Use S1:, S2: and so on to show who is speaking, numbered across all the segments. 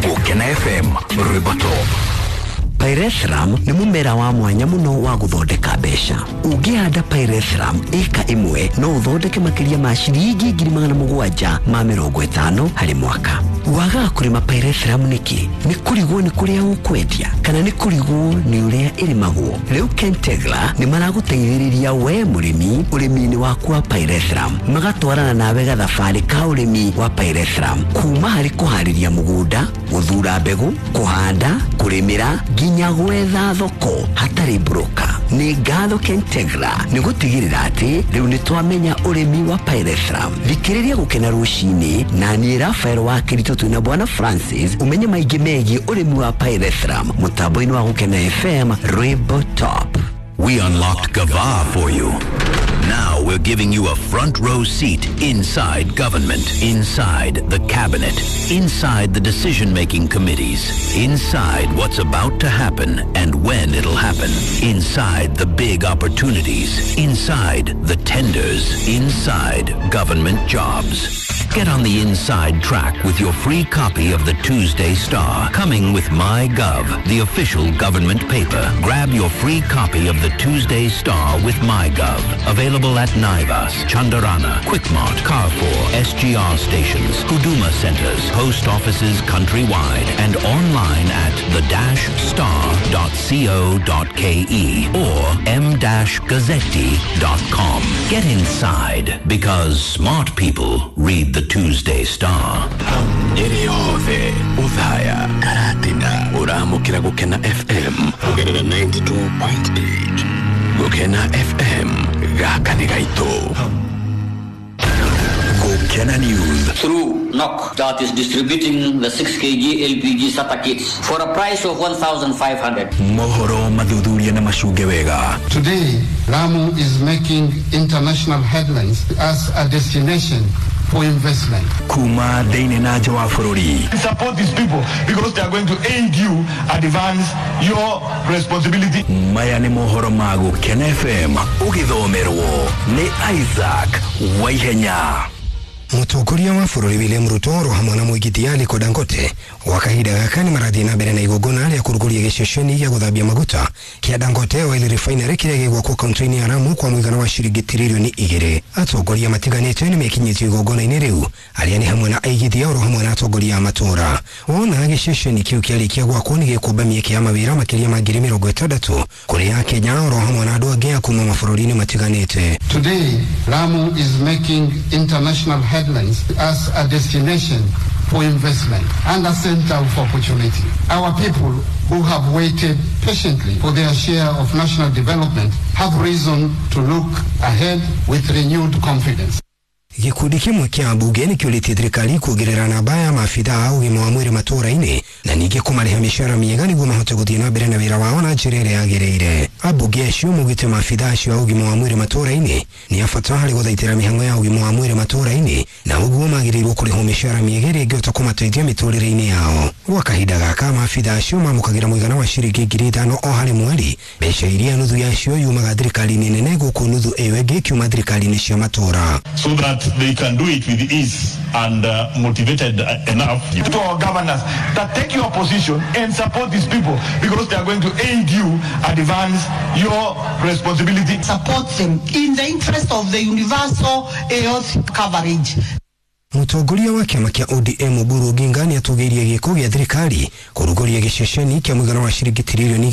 S1: Gũkena FM, rwĩmbo top.
S2: Pyrethrum nĩ mũmera wa mwanya mũno wa gũthondeka mbeca. Ũngĩhanda Pyrethrum ĩka ĩmwe no ũthondeke makĩria ma ciringi 750,000 harĩ mwaka. Wagaga kũrĩma Pyrethrum nĩkĩ? Nĩ kũrigwo nĩ kũrĩa ũkwendia kana nĩ kũrigwo nĩ ũrĩa ĩrĩmagwo? Rĩu Kentegra nĩ maragũteithĩrĩria we mũrĩmi ũrĩmi-inĩ waku wa Pyrethrum, magatwarana nawe gathabarĩ ka ũrĩmi wa Pyrethrum kuma harĩ kũharĩria mũgũnda, gũthura mbegũ, kũhanda, kũrĩmĩra nginya gwetha thoko hatarĩ broker. Nĩ ngatho Kentegra nĩ gũtigĩrĩra atĩ rĩu nĩ twamenya ũrĩmi wa Pyrethrum. Thikĩrĩria Gũkena rũcinĩ na niĩ Rafael wa Kĩritũ twĩna Bwana Francis ũmenye maingĩ megiĩ ũrĩmi wa Pyrethrum mũtambo-inĩ wa Gũkena FM, rwĩmbo top.
S1: We unlocked Gava for you. Now we're giving you a front row seat inside government, inside the cabinet, inside the decision-making committees, inside what's about to happen and when it'll happen, inside the big opportunities, inside the tenders, inside government jobs. Get on the inside track with your free copy of the Tuesday Star, coming with MyGov, the official government paper. Grab your free copy of the Tuesday Star with MyGov. Available at Naivas, Chandarana, Quickmart, Carrefour, SGR stations, Huduma centers, post offices countrywide, and online at the-star.co.ke or m-gazzetti.com. Get inside, because smart people read the Tuesday Star.
S3: Nyeri yothe Othaya, Karatina, ũramũkĩra Gũkena FM kũgerera 92.8. Gũkena FM, gaka nĩ gaitũ.
S1: Gũkena News.
S4: Through NOC that is distributing the 6 kg LPG SATA kits for a price of 1,500.
S1: Mohoro mathuthuria na macunge wega.
S5: Today, Lamu is making international headlines as a destination for investment.
S1: Kuma thĩinĩ na nja wa bũrũri.
S6: Support these people because they are going to aid you advance your responsibility.
S1: Maya nĩ mohoro ma Gũkena FM ũgĩthomerwo nĩ Isaac Waihenya.
S7: Mũtongoria wa bũrũri William Ruto oro hamwe na mũigithia Aliko Dangote wa kahinda gaka nĩ marathiĩ na mbere na igongona rĩa kũrugũria gĩceceni gĩa gũthambia maguta kĩa Dangote Oil Refinery kĩrĩa gĩgwakwo kaunti-inĩ ya Lamu kwa mũigana wa ciringi 2 tiririoni. Atongoria matiganĩte nĩ mekinyĩtio igongona-inĩ rĩu, arĩa nĩ hamwe na aigithia oro hamwe na atongoria a matũũra. Wona gĩceceni kĩu kĩarĩkia gwakwo, nĩ gĩkũmba mĩeke ya mawĩra makĩria ma 60,000 kũrĩ Akenya oro hamwe na andũ angĩ a kuma mabũrũri-inĩ matiganĩte.
S5: Today, Lamu is making international headlines as a destination for investment and a center of opportunity. Our people who have waited patiently for their share of national development have reason to look ahead with renewed confidence.
S7: Gĩkundi kĩmwe kĩa ambunge nĩ kĩũrĩtie thirikari kuongerera namba ya maabitha a ũgima wa mwĩrĩ matũũra-inĩ na ningĩ kũmarĩha mĩcara mĩega nĩguo mahote gũthiĩ na mbere na wĩra wao na njĩra ĩrĩa yagĩrĩire. Ambunge acio maugĩte maabitha acio a ũgima wa mwĩrĩ matũũra-inĩ nĩ a bata harĩ gũthaitĩra mĩhang'o ya ũgima wa mwĩrĩ matũũra-inĩ, na ũguo magĩrĩirwo kũrĩhwo mĩcara mĩega ĩrĩa ĩngĩhota kũmateithia mĩtũrĩre-inĩ yao. Gwa kahinda gaka, maabitha acio mamũkagĩra mũigana wa ciringi 5,000 o harĩ mweri, mbeca iria nuthu yacio yumaga thirikari-inĩ nene, gũkũ nuthu ĩyo ĩngĩ ĩkiuma thirikari-inĩ cia matũũra.
S6: So that they can do it with ease and motivated enough. To our governors that take your position and support these people because they are going to aid you advance your responsibility.
S8: Support them in the interest of the universal health coverage.
S7: Mũtongoria wa kĩama kĩa ODM Oburu Oginga nĩ atũgĩirie gĩko gĩa thirikari kũrugũria gĩceceni kĩa mũigana wa ciringi 2.2 tiririoni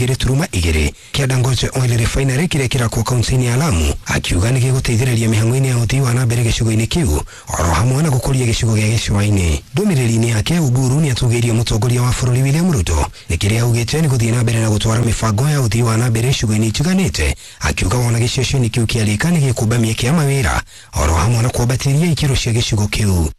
S7: kĩa Dangote Oil Refinery kĩrĩa kĩrakwo kaunti-inĩ ya Lamu, akiuga nĩ gĩgũteithĩrĩria mĩhang'o-inĩ ya ũthii wa na mbere gĩcigo-inĩ kĩu oro hamwe na gũkũria gĩcigo gĩa gĩcũa-inĩ. Ndũmĩrĩri-inĩ yake, Oburu nĩ atũgĩirie mũtongoria wa bũrũri William Ruto nĩ kĩrĩa augĩte nĩ gũthiĩ na mbere na gũtwara mĩbango ya ũthii wa na mbere icigo-inĩ itiganĩte, akiuga wona gĩceceni kĩu kĩarĩka nĩ gĩkũmba mĩeke ya mawĩra oro hamwe na kwambatĩria ikĩro cia gĩcigo kĩu.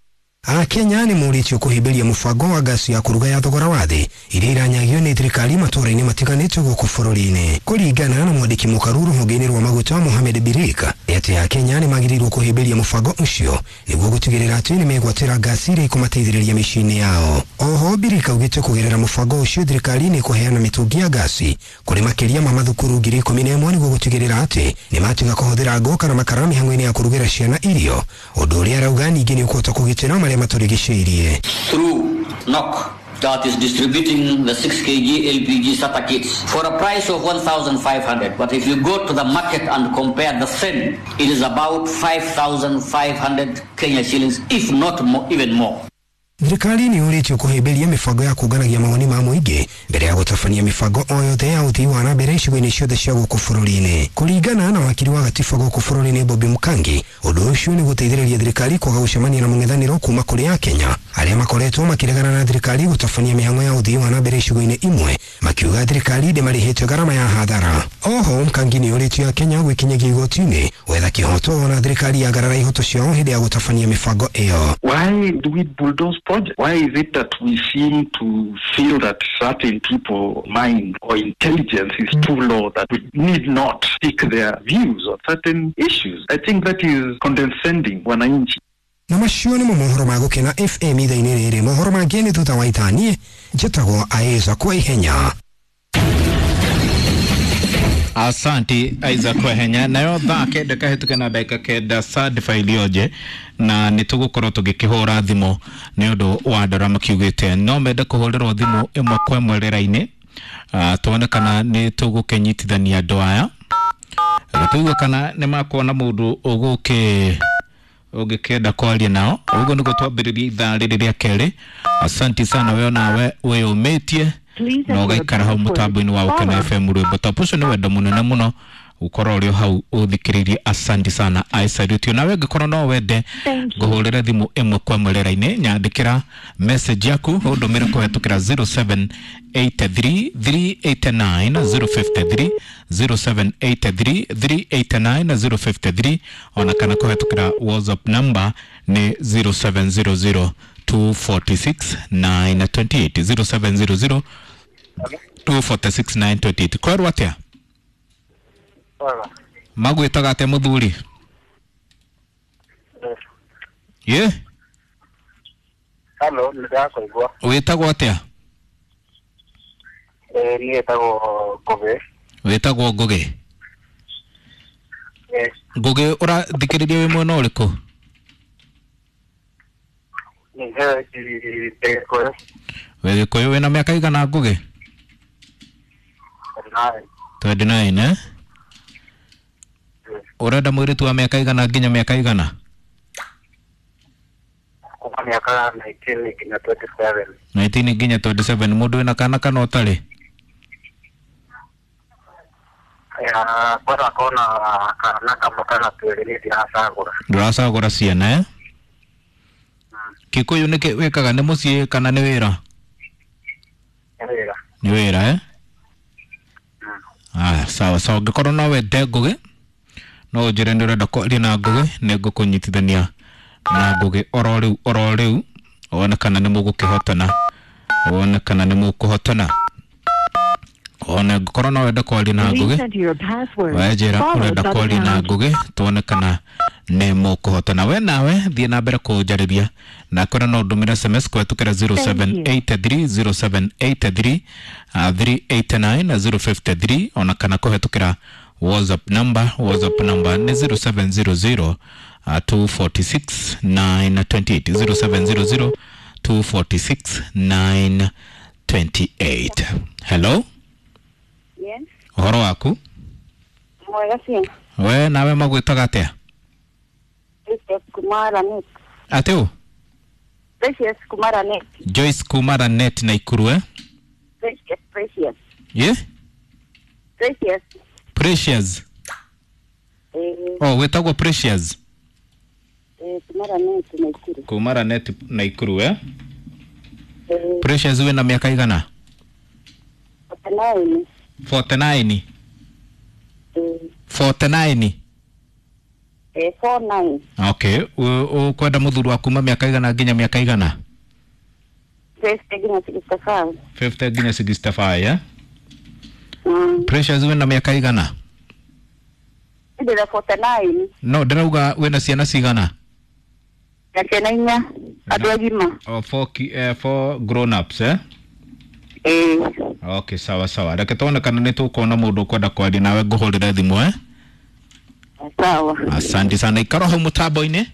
S7: Akenya nĩ morĩtio kũhĩmbĩria mũbango wa ngasi ya kũruga ya thogora wa thĩ iria iranyagio nĩ thirikari matũũra-inĩ matiganĩte gũkũ bũrũri-inĩ. Kũringana na mwandĩki mũkaru rũhonge-inĩ rwa maguta Mohamed Birika, nĩ atĩ Akenya nĩ magĩrĩirwo kũhĩmbĩria mũbango ũcio nĩguo gũtigĩrĩra atĩ nĩ megwatĩra ngasi iria ikũmateithĩrĩria mĩciĩ-inĩ yao. Oho Birika augĩte kũgerera mũbango ũcio thirikari nĩ ĩkũheana mĩtũngi ya ngasi kũrĩ makĩria ma mathukuru 11,000 nĩguo gũtigĩrĩra atĩ nĩ matiga kũhũthĩra ngũ kana makara mĩhang'o-inĩ ya kũrugĩra ciana irio, ũndũ ũrĩa arauga ningĩ nĩ ũkũhota kũgitĩra marĩa matũrigicĩirie.
S4: Through NOC that is distributing the 6 kg LPG starter kits for a price of 1,500. But if you go to the market and compare the same, it is about 5,500 Kenya shillings, if not more, even more.
S7: Thirikari nĩ yũrĩtio kũhĩmbĩria mĩbango ya kũnganagia mawoni ma mũingĩ mbere ya gũtabania mĩbango o yothe ya ũthii wa na mbere icigo-inĩ ciothe cia gũkũ bũrũri-inĩ. Kũringana na wakiri wa gatiba gũkũ bũrũri-inĩ Bobby Mkangi, ũndũ ũcio nĩ gũteithĩrĩria thirikari kwaga gũcemania na mũng'ethanĩro kuma kũrĩ Akenya arĩa makoretwo makĩregana na thirikari gũtabania mĩhang'o ya ũthii wa na mbere icigo-inĩ imwe, makiuga thirikari ndĩmarĩhĩte gharama ya hathara. Oho Mkangi nĩ yũrĩtio Akenya gwĩkinyagia igoti-inĩ gwetha kĩhoto na thirikari yagarara ihoto ciao hĩndĩ ya gũtabania mĩbango ĩyo.
S9: Why do we bulldoze projects? Why is it that we seem to feel that certain people mind or intelligence is too low that we need not seek their views on certain issues? I think that is condescending wananchi.
S7: Na macio nĩmo mohoro ma Gũkena FM ithaa-inĩ rĩrĩ. Mohoro mangĩ nĩ thutha wa ithaa. Niĩ njĩtagwo Isaac Waihenya.
S10: Asanti Isaac Waihenya. Nayo thaa kenda kahĩtũke na ndagĩka 9 certified ilioje na nĩ tũgũkorwo tũgĩkĩhũra thimũ nĩ ũndũ wa andũ arĩa makiugĩte no mende kũhũrĩrwo thimũ ĩmwe kwa ĩmwe rĩera-inĩ, tuone kana nĩ tũgũkĩnyitithania andũ aya tũigue kana nĩ makuona mũndũ ũgũkĩ ũngĩkĩenda kwaria nao. Ũguo nĩguo twambĩrĩria ithaa rĩrĩ rĩa kerĩ. Asanti sana we onawe wĩyũmĩtie na ũgaikara hau mũtambo-inĩ wa Gũkena FM rwĩmbo top ũcio nĩ wendo mũnene mũno gũkorwo ũrĩ o hau ũthikĩrĩirie. Asanti sana, I salute you. Nawe ũngĩkorwo no wende ngũhũrĩre thimũ ĩmwe kwa ĩmwe rĩera-inĩ, nyandĩkĩra message yaku ũndũmĩre kũhetũkĩra 0783 389 053, 0783 389 053, ona kana kũhetũkĩra WhatsApp number nĩ 0700 246 928, 0700 246 928. Kwerwo atĩa? Magwĩtaga atĩa mũthuri? Ye?
S11: Halo, nĩndakũigua.
S10: Wĩtagwo atĩa?
S11: Niĩ wĩtagwo Ngũgĩ.
S10: Wĩtagwo Ngũgĩ? Ngũgĩ, ũrathikĩrĩria wĩ mwena ũrĩkũ? Wĩ Gĩkũyũ. Wĩna mĩaka igana Ngũgĩ? 29, eh? Ũrenda mũirĩtu wa mĩaka igana nginya mĩaka igana?
S11: Kuma mĩaka 19 nginya 27.
S10: 19 nginya 27. Mũndũ wĩna kana kana ũtarĩ?
S11: Kwenda kona kana kamwe kana twĩrĩ, niĩ ndiracagũra.
S10: Ndũracagũra ciana, eh? Kikuyu nĩkĩ wĩkaga, nĩ mũciĩ kana nĩ wĩra?
S11: Nĩ wĩra.
S10: Nĩ wĩra, eh? Ah, sawa sawa. Ũngĩkorwo no wende Ngũgĩ no ũnjĩre nĩ ũrenda kwaria na Ngũgĩ, nĩ ngũkũnyitithania na Ngũgĩ oro rĩu oro rĩu, wone kana nĩ mũgũkĩhotana, wone kana nĩ mũkũhotana. One ngũkorwo no wende kwaria na Ngũgĩ, wenjĩra ũrenda kwaria na Ngũgĩ, tuone kana nĩ mũkũhotana. We nawe thiĩ na mbere kũnjarĩria na kwĩra no ndũmĩre SMS kũhetũkĩra 0783 0783 389 053, ona kana kũhetũkĩra WhatsApp number. WhatsApp number nĩ 0700 246 928, 0700 246 928. Hello?
S12: Yes.
S10: Ũhoro waku?
S12: Mwega biũ.
S10: We nawe magwĩtaga atĩa?
S12: Precious Kumara Net.
S10: Atĩ ũ?
S12: Precious Kumara Net.
S10: Joyce Kumara Net Naikuru, eh?
S12: Precious, Precious.
S10: Yeah?
S12: Precious.
S10: Precious. Oh, wĩtagwo Precious.
S12: Kumara Net Naikuru.
S10: Kumara Net Naikuru, eh? Precious wĩna mĩaka igana?
S12: 49.
S10: 49. 49.
S12: 49.
S10: Okay, ũkwenda mũthuri wa kuma mĩaka igana nginya mĩaka igana?
S12: 50 nginya 65.
S10: 50 nginya 65, eh? Precious wĩna mĩaka igana?
S12: Ndĩna 49.
S10: No, ndĩrauga wĩna ciana cigana?
S12: Na ciana inya, andũ agima.
S10: Oh, four grown ups, eh? Okay, sawa sawa. Reke tuone kana nĩ tũkuona mũndũ ũkwenda kwaria nawe ngũhũrĩre thimũ, eh?
S12: Sawa.
S10: Asante sana. Ikaro hau mũtambo-inĩ,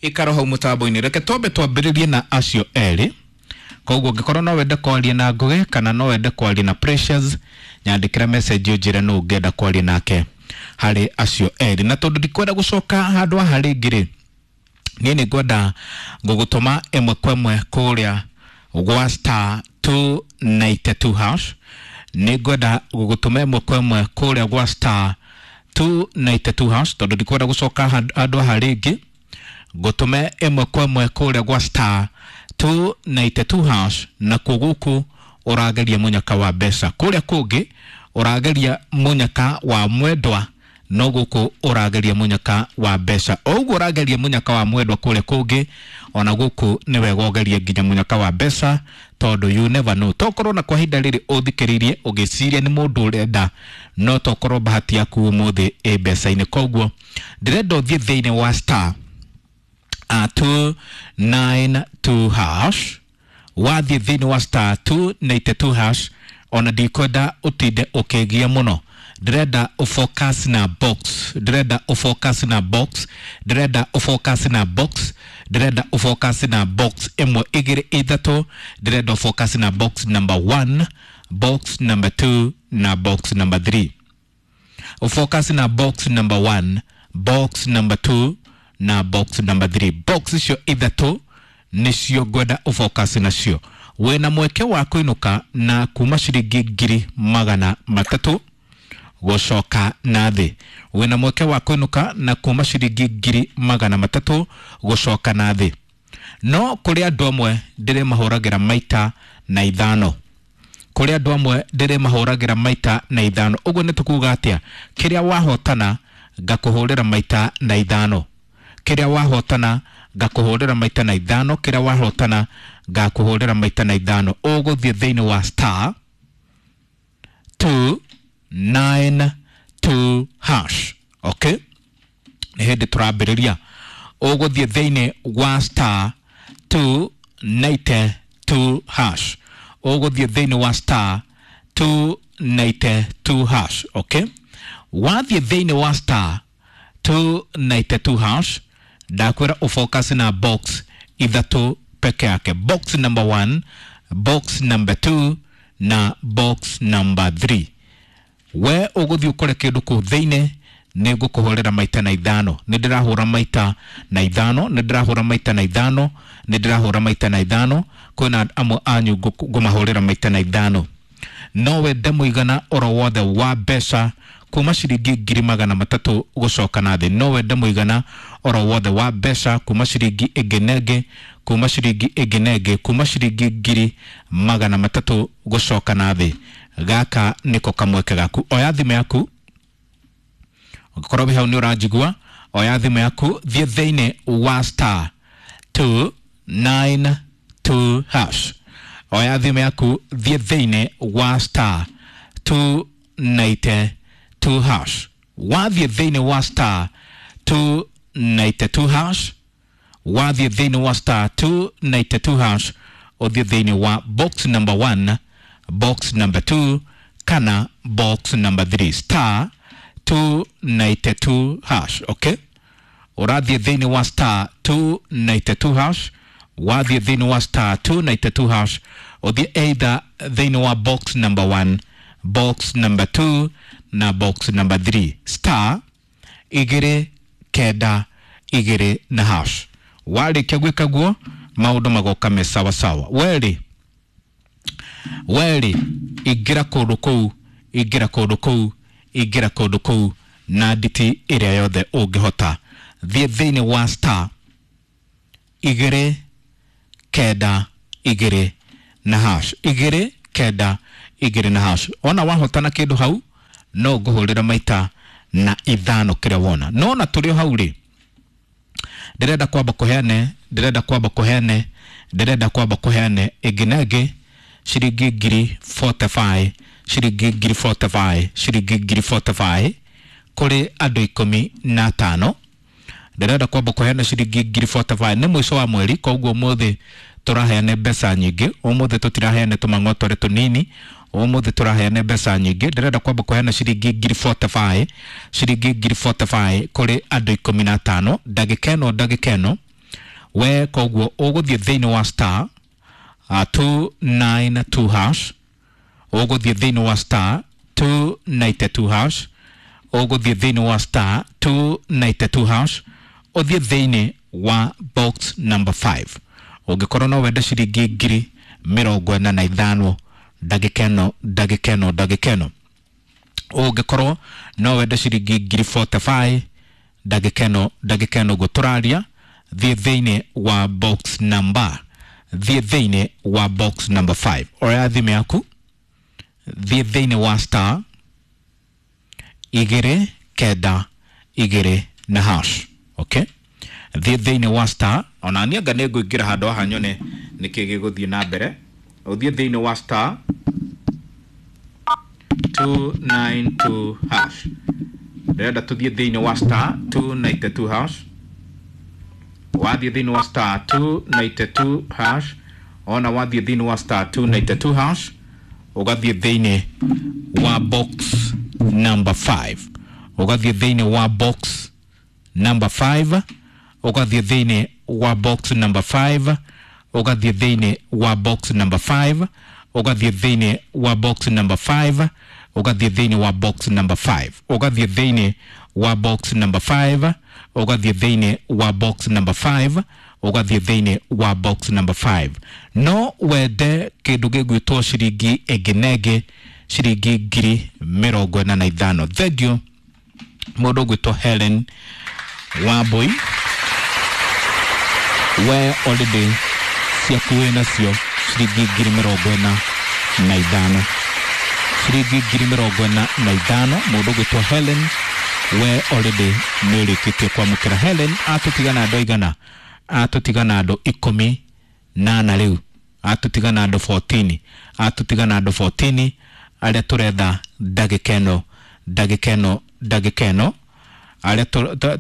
S10: ikaro hau mũtambo-inĩ. Reke twambe twambĩrĩrie na acio erĩ. Koguo ũngĩkorwo no wende kwaria na Ngũgĩ kana no wende kwaria na Precious, nyandĩkĩra message ũnjĩre nũ ũngĩenda kwaria nake harĩ acio erĩ. Na tondũ ndikwenda gũcoka handũ haha rĩngĩ rĩ, niĩ nĩ ngwenda ngũgũtũma ĩmwe kwa ĩmwe kũrĩa gwa star 292 hash. Nĩ ngwenda gũgũtũma ĩmwe kwa ĩmwe kũrĩa gwa star 292 hash tondũ ndikwenda gũcoka handũ haha rĩngĩ. Ngũtũme ĩmwe kwa ĩmwe kũrĩa gwa star 292 hash, nakuo gũkũ ũrageria mũnyaka wa mbeca, kũrĩa kũngĩ ũrageria mũnyaka wa mwendwa, no gũkũ ũrageria mũnyaka wa mbeca. O ũguo ũrageria mũnyaka wa mwendwa kũrĩa kũngĩ, ona gũkũ nĩ wega ũgerie nginya mũnyaka wa mbeca, tondũ you never know. Tokorwo na kwa ihinda rĩrĩ ũthikĩrĩirie ũgĩciria nĩ mũndũ ũrenda, no tokorwo bahati yaku ũmũthĩ ĩ mbeca-inĩ. Koguo ndĩrenda ũthiĩ thĩinĩ wa star 292 hash. Wathiĩ thĩinĩ wa star 292 hash, ona ndikwenda ũtinde ũkĩgia mũno, ndĩrenda ũfocus na box, ndĩrenda ũfocus na box, ndĩrenda ũfocus na box, ndĩrenda ũfocus na box ĩmwe igĩrĩ ithatũ, ndĩrenda ũfocus na box number 1, box number 2 na box number 3. Ũfocus na box number 1, box number 2 na box number 3. Box icio ithatũ nĩcio ngwenda ũfocus nacio. Wĩna mweke wa kũinũka na kuma ciringi 300,000 gũcoka na thĩ. Wĩna mweke wa kũinũka na kuma ciringi 300,000 gũcoka na thĩ. No kũrĩ andũ amwe ndĩrĩmahũragĩra maita na ithano. Kũrĩ andũ amwe ndĩrĩmahũragĩra maita na ithano. Ũguo nĩ tũkuga atĩa? Kĩrĩa wahotana ngakũhũrĩra maita na ithano. Kĩrĩa wahotana ngakũhũrĩra maita na ithano. Kĩrĩa wahotana ngakũhũrĩra maita na ithano. Ũgũthiĩ thĩinĩ wa star 292 hash. Okay? Nĩ hĩndĩ tũrambĩrĩria. Ũgũthiĩ thĩinĩ wa star 292 hash. Ũgũthiĩ thĩinĩ wa star 292 hash. Okay? Wathiĩ thĩinĩ wa star 292 hash, ndakwĩra ũfocus na box ithatũ peke yake. Box number 1, box number 2 na box number 3. We ũgũthiĩ ũkore kĩndũ kũu thĩinĩ, nĩ ngũkũhũrĩra maita na ithano. Nĩ ndĩrahũra maita na ithano, nĩ ndĩrahũra maita na ithano, nĩ ndĩrahũra maita na ithano. Kwĩna amwe anyu ngũmahũrĩra maita na ithano. No wende mũigana oro wothe wa mbeca kuma ciringi 300,000 gũcoka na thĩ. No wende mũigana oro wothe wa mbeca kuma ciringi ĩngĩ na ĩngĩ, kuma ciringi ĩngĩ na ĩngĩ, kuma ciringi 300,000 gũcoka na thĩ. Gaka nĩko kamweke gaku. Oya thimũ yaku, ũngĩkorwo wĩ hau nĩ ũranjigua, oya thimũ yaku, thiĩ thĩinĩ wa star 292 hash. Oya thimũ yaku, thiĩ thĩinĩ wa star 292 hash. Wathiĩ thĩinĩ wa star 292 hash, wathiĩ thĩinĩ wa star 292 hash, ũthiĩ thĩinĩ wa box number 1, box number 2 kana box number 3. Star 292 hash. Okay? Ũrathiĩ thĩinĩ wa star 292 hash, wathiĩ thĩinĩ wa star 292 hash, ũthiĩ either thĩinĩ wa box number 1, box number 2 na box number 3. Star 2 9 2 na hash. Warĩkia gwĩka guo, maũndũ magoka me sawa sawa. Werĩ ingĩra kũndũ kũu, ingĩra kũndũ kũu, ingĩra kũndũ kũu na nditi ĩrĩa yothe ũngĩhota. Thiĩ thĩinĩ wa star 2 9 2 na hash. 2 9 2 na hash. Ona wahotana kĩndũ hau, no ngũhũrĩra maita na ithano kĩrĩa wona. No ona tũrĩ o hau rĩ, ndĩrenda kwamba kũheane, ndĩrenda kwamba kũheane, ndĩrenda kwamba kũheane ĩngĩ na ĩngĩ ciringi 45,000, ciringi 45,000, ciringi 45,000 kũrĩ andũ 15. Ndĩrenda kwamba kũheana ciringi 45,000. Nĩ mũico wa mweri, koguo ũmũthĩ tũraheana mbeca nyingĩ. Ũmũthĩ tũtiraheana tũmang'otore tũnini, ũmũthĩ tũraheana mbeca nyingĩ. Ndĩrenda kwamba kũheana ciringi 45,000, ciringi 45,000 kũrĩ andũ 15 ndagĩka ĩno, ndagĩka ĩno. We koguo ũgũthiĩ thĩinĩ wa star 292 hash, ũgũthiĩ thĩinĩ wa star 292 hash, ũgũthiĩ thĩinĩ wa star 292 hash, ũthiĩ thĩinĩ wa box number 5. Ũngĩkorwo no wende ciringi 45,000 ndagĩka ĩno ndagĩka ĩno ndagĩka ĩno. Ũngĩkorwo no wende ciringi 45,000 ndagĩka ĩno ndagĩka ĩno ũguo tũraria, thiĩ thĩinĩ wa box number, thiĩ thĩinĩ wa box number 5. Oya thimũ yaku, thiĩ thĩinĩ wa star 2 9 2 na hash. Okay, thiĩ thĩinĩ wa star, ona niĩ anga nĩ ngũingĩra handũ haha nyone nĩkĩ gĩgũthiĩ na mbere. Ũthiĩ thĩinĩ wa star 292 hash. Ndĩrenda tũthiĩ thĩinĩ wa star 292 hash. Wathiĩ thĩinĩ wa star 292 hash, ona wathiĩ thĩinĩ wa star 292 hash, ũgathiĩ thĩinĩ wa box number 5, ũgathiĩ thĩinĩ wa box number 5, ũgathiĩ thĩinĩ wa box number 5, ũgathiĩ thĩinĩ wa box number 5, ũgathiĩ thĩinĩ wa box number 5, ũgathiĩ thĩinĩ wa box number 5, ũgathiĩ thĩinĩ wa box number 5, ũgathiĩ thĩinĩ wa box number 5, ũgathiĩ thĩinĩ wa box number 5. No wende kĩndũ gĩgwĩtwo ciringi ĩngĩ na ĩngĩ, ciringi 45,000. Thank you mũndũ ũgwĩtwo Helen Wambui, we already ciaku wĩ nacio ciringi 45,000, ciringi 45,000. Mũndũ ũgwĩtwo Helen, we already nĩ ũrĩkĩtie kwamũkĩra. Helen atũtigana andũ aigana? Atũtigana andũ 14 rĩu, atũtigana andũ 14, atũtigana andũ 14 arĩa tũretha ndagĩka ĩno ndagĩka ĩno ndagĩka ĩno, arĩa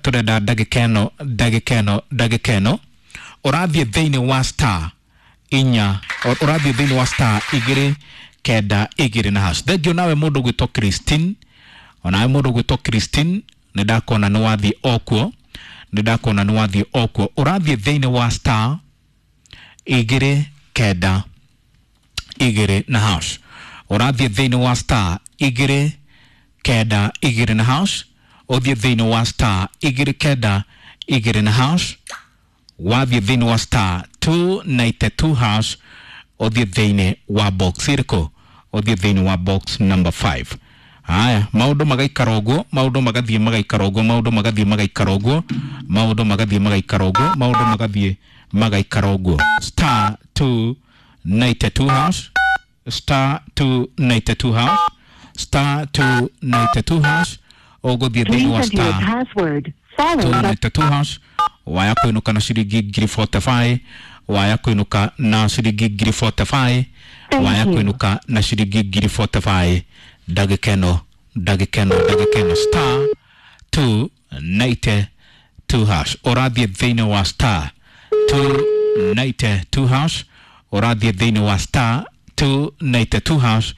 S10: tũrenda ndagĩka ĩno ndagĩka ĩno ndagĩka ĩno. Ũrathiĩ thĩinĩ wa star inya, ũrathiĩ thĩinĩ wa star 2 9 2 na hash. Thank you nawe mũndũ ũgwĩtwo Christine, onawe mũndũ ũgwĩtwo Christine, nĩ ndakona nĩ wathiĩ okuo, nĩ ndakona nĩ wathiĩ okuo. Ũrathiĩ thĩinĩ wa star 2 9 2 na hash, ũrathiĩ thĩinĩ wa star 2 9 2 na hash, ũthiĩ thĩinĩ wa star 2 9 2 na hash, wathiĩ thĩinĩ wa star 292 hash, ũthiĩ thĩinĩ wa box ĩrĩkũ? Ũthiĩ thĩinĩ wa box number 5. Haya, maũndũ magaikara ũguo, maũndũ magathiĩ magaikara ũguo, maũndũ magathiĩ magaikara ũguo, maũndũ magathiĩ magaikara ũguo, maũndũ magathiĩ magaikara ũguo. Star 292 hash, star 292 hash, star 292 hash, ũgũthiĩ thĩinĩ wa star 292 hash, waya kũinũka na ciringi 45,000, waya kũinũka na ciringi 45,000, waya kũinũka na ciringi 45,000 ndagĩka ĩno ndagĩka ĩno ndagĩka ĩno. Star 292 hash, ũrathiĩ thĩinĩ wa star 292 hash, ũrathiĩ thĩinĩ wa star 292 hash,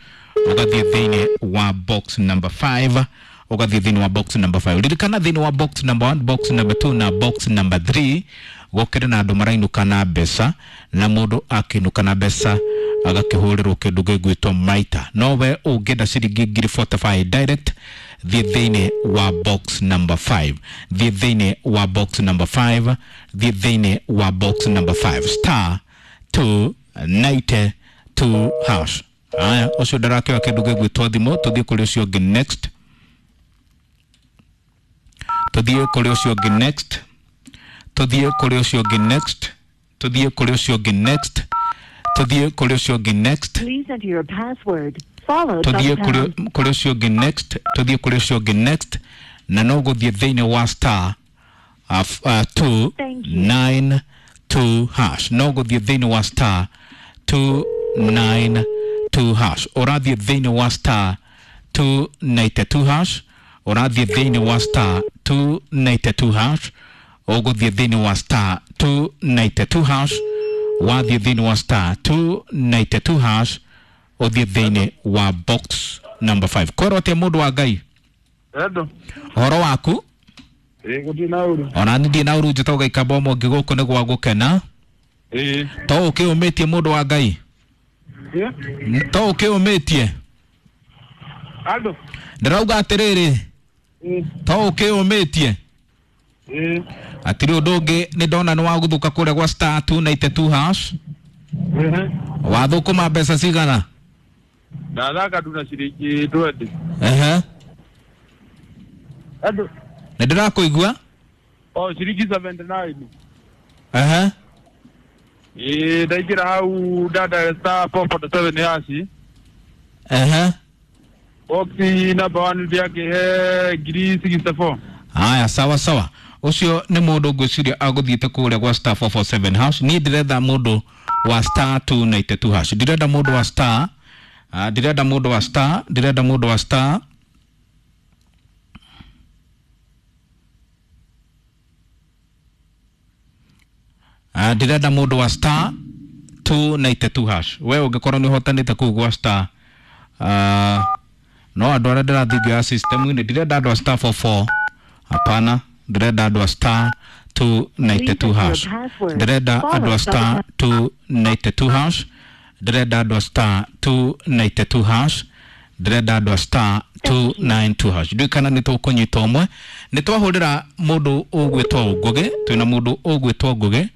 S10: ũgathiĩ thĩinĩ wa box number 5, ũgathiĩ thĩinĩ wa box number 5. Ririkana thĩinĩ wa box number 1, box number 2 na box number 3 gũkĩrĩ na andũ marainũka na mbeca, na mũndũ akĩinũka na mbeca agakĩhũrĩrwo kĩndũ gĩgwĩtwo maita. No we ũngĩenda ciringi 45,000 direct, thiĩ thĩinĩ wa box number 5, thiĩ thĩinĩ wa box number 5, thiĩ thĩinĩ wa box number 5, star 292 hash. Haya, ũcio ndarakĩoya kĩndũ gĩgwĩtwo thimũ, tũthiĩ kũrĩ ũcio ũngĩ next, tũthiĩ kũrĩ ũcio ũngĩ next, tũthiĩ kũrĩ ũcio ũngĩ next, tũthiĩ kũrĩ ũcio ũngĩ next, tũthiĩ kũrĩ ũcio ũngĩ next, tũthiĩ kũrĩ ũcio ũngĩ next, tũthiĩ kũrĩ ũcio ũngĩ next, na no gũthiĩ thĩinĩ wa star 292 hash, no gũthiĩ thĩinĩ wa star 292 hash, ũrathiĩ thĩinĩ wa star 292 hash, ũrathiĩ thĩinĩ wa star 292 hash, ũgũthiĩ thĩinĩ wa star 292 hash, wathiĩ thĩinĩ wa star 292 hash, ũthiĩ thĩinĩ wa box number 5. Kwĩrwo atĩa mũndũ wa Ngai? Ũhoro waku? Ona niĩ ndirĩ na ũru, njĩtagwo Gaikamba Omongi, gũkũ nĩ gwa gũkena.
S13: Ĩĩ.
S10: To ũkĩũmĩtie mũndũ wa Ngai? To ũkĩũmĩtie?
S13: Andũ.
S10: Ndĩrauga atĩrĩrĩ, to ũkĩũmĩtie?
S13: Ĩĩ.
S10: Hatirĩ ũndũ ũngĩ, nĩ ndona nĩ wagũthũka kũrĩa gwa star 292 hash. Wathũkũma mbeca cigana?
S13: Ndathaka tu na ciringi 20.
S10: Ehe.
S13: Andũ.
S10: Nĩ ndĩrakũigua.
S13: O ciringi 79.
S10: Ehe.
S13: Ĩĩ, ndaingĩra hau ndada star 447 hash.
S10: Ehe.
S13: Box number 1 ndĩakĩhe ngiri 64.
S10: Haya, sawa sawa. Ũcio nĩ mũndũ ngwĩciria agũthiĩte kũrĩa gwa star 447 hash. Niĩ ndĩretha mũndũ wa star 292 hash. Ndĩrenda mũndũ wa star, ndĩrenda mũndũ wa star, ndĩrenda mũndũ wa star. Ndĩrenda mũndũ wa star 292 hash. We ũngĩkorwo nĩ ũhotanĩte kũu gwa star, no andũ arĩa ndĩrathiĩ ngĩoya system-inĩ, ndĩrenda andũ a star 44. Hapana, ndĩrenda andũ a star 292 hash. Ndĩrenda andũ a star 292 hash. Ndĩrenda andũ a star 292 hash. Ndĩrenda andũ a star 292 hash. Ndiũĩ kana nĩ tũkũnyita ũmwe. Nĩ twahũrĩra mũndũ ũgwĩtwo Ngũgĩ, twĩna mũndũ ũgwĩtwo Ngũgĩ,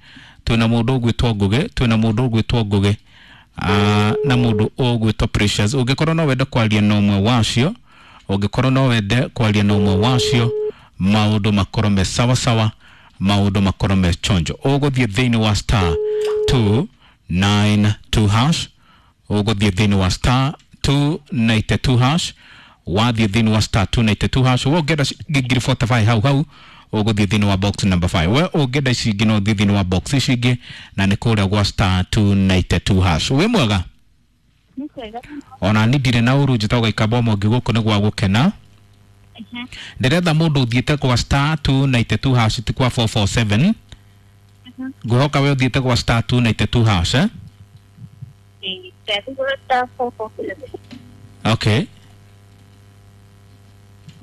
S10: twĩna mũndũ ũgwĩtwo Ngũgĩ, twĩna mũndũ ũgwĩtwo Ngũgĩ, na mũndũ ũgwĩtwo Precious. Ũngĩkorwo no wende kwaria na ũmwe wacio, ũngĩkorwo no wende kwaria na ũmwe wacio, maũndũ makorwo me sawa sawa, maũndũ makorwo me chonjo. Ũgũthiĩ thĩinĩ wa star 292 hash, ũgũthiĩ thĩinĩ wa star 292 hash, wathiĩ thĩinĩ wa star 292 hash, we ũngĩenda ciringi ngiri 45 hau hau, ũgũthiĩ thĩinĩ wa box number 5. We ũngĩenda ici ingĩ no ũthiĩ thĩinĩ wa box ici ingĩ, na nĩ kũrĩa gwa star 292 hash. Wĩ mwega? Ona ni ndirĩ na ũru, njĩtagwo Gaikamba Mwangi, gũkũ nĩ gwa gũkena. Ndĩretha mũndũ ũthiĩte kwa star 292 hash, ti kwa 447. Ngwĩhoka we ũthiĩte kwa star 292 hash, eh? Okay.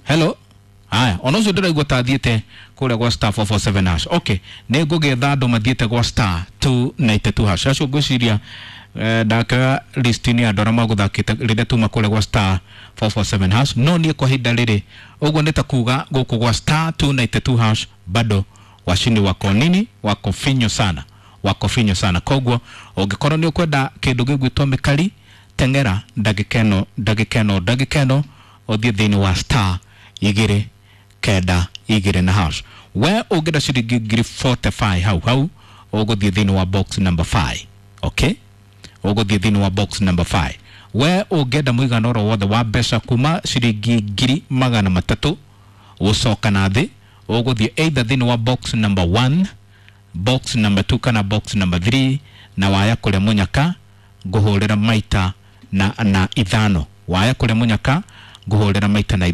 S10: Hello. Haya, ona ũcio ndĩraigua ta athiĩte kũrĩa gwa star 447 hash. Okay, nĩ ngũgĩetha andũ mathiĩte gwa star 292 hash. Acio ngwĩciria ndakĩoya list-inĩ ya andũ arĩa magũthakĩte rĩrĩa tuma kũrĩa gwa star 447 hash. No niĩ kwa ihinda rĩrĩ, ũguo nĩ ta kuga gũkũ gwa star 292 hash bado washindi wako nini, wako finyo sana, wako finyo sana. Koguo ũngĩkorwo nĩ ũkwenda kĩndũ gĩgwĩtwo mĩkari, teng'era ndagĩka ĩno, ndagĩka ĩno, ndagĩka ĩno, ũthiĩ thĩinĩ wa star 2 9 2 na hash. We ũngĩenda ciringi ngiri 45 hau hau, ũgũthiĩ thĩinĩ wa box number 5. Okay, ũgũthiĩ thĩinĩ wa box number 5. We ũngĩenda mũigana oro wothe wa mbeca kuma ciringi ngiri 300 gũcoka na thĩ, ũgũthiĩ either thĩinĩ wa box number 1, box number 2 kana box number 3, na waya kũrĩa mũnyaka ngũhũrĩra maita na 5. Waya kũrĩa mũnyaka ngũhũrĩra maita na 5.